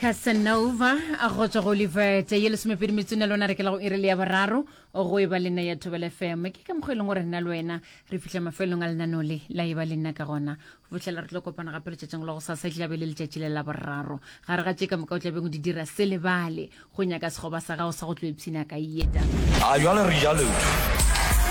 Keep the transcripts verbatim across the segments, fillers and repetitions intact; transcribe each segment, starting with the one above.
Casanova a go tswa go Olivete ye lesomepedi metsone lona re ke la go iri le ya boraro go e ba le nna ya Thobela F M. Ke ka mokgwa e leng gore nna le wena re fihla mafelong a lenaneo le la e ba le nna ka gona go fihlela re tlo kopana gape letšatšing la go sasa, e tla be le letšatši le la boraro. Gare ga tše ka moka o tlabeng o di dira, se lebale go nyaka sekgoba sa gago sa go tlo ipshina ka yeta. A jwale re ja leoto,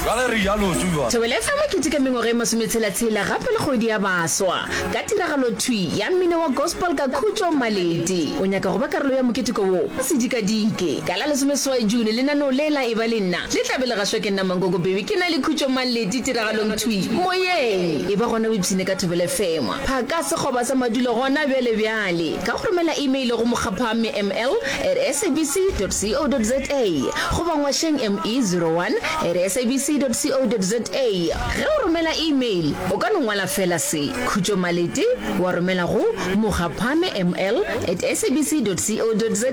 jwale re ja leoto jwale. Thobela F M e keteka mengwaga e masometshela-tshela gape le kgwedi ya baswa ka tiragalo thwi ya mmino wa gospel ka Khutšo Malete. O nyaka go ba karolo ya moketeko wo? Se dikadike. Ka la lesomeseswai June lenaneo le la Eba Le Nna le tla be le gašwa ke nna Mankoko Baby ke na le Khutšo Malete tiragalong thwi moyeng. Eba gona o ipshine ka Thobela F M. Phaka sekgoba sa madulo gona bjale bjale ka go romela email go mokgaphame ml at sabc dot co dot za goba ngwašeng me zero one at sabc dot co dot za. Ge o romela email o ka no ngwala fela se, Khutšo Malete, wa romela go mokgaphame ml at sabc dot co dot za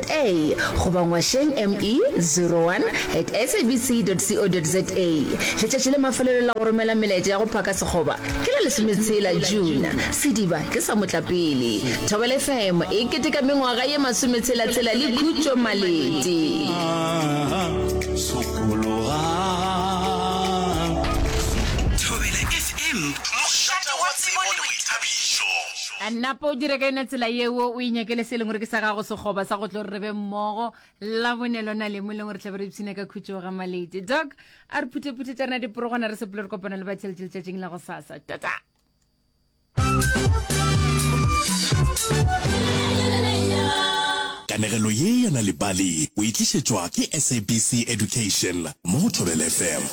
goba ngwašeng me zero one at sabc dot co dot za. Letšatši la mafelelo la go romela melaetša ya go phaka sekgoba ke la lesometshela June. Sediba ke sa motlapele. Thobela F M e keteka mengwaga ye masometshela-tshela le Khutšo Malete. Sokologang. Thobela F M, mošate wa tsebo le boithabišo. Napa o dire ka yona tsela yeo, o inyakele se e leng gore ke sa gago sekgoba sa go tlo re re be mmogo la bone lona le mo e leng gore tlabe re ipshina ka khutšo ga Malete. Doc, a re phutheputhe tša rena diporogwana re sepele re kopana le batheletše letšatšing la go sasa. Tata. Kanegelo ye ya Nal'ibali o e tlišetšwa ke S A B C Education mo go Thobela F M.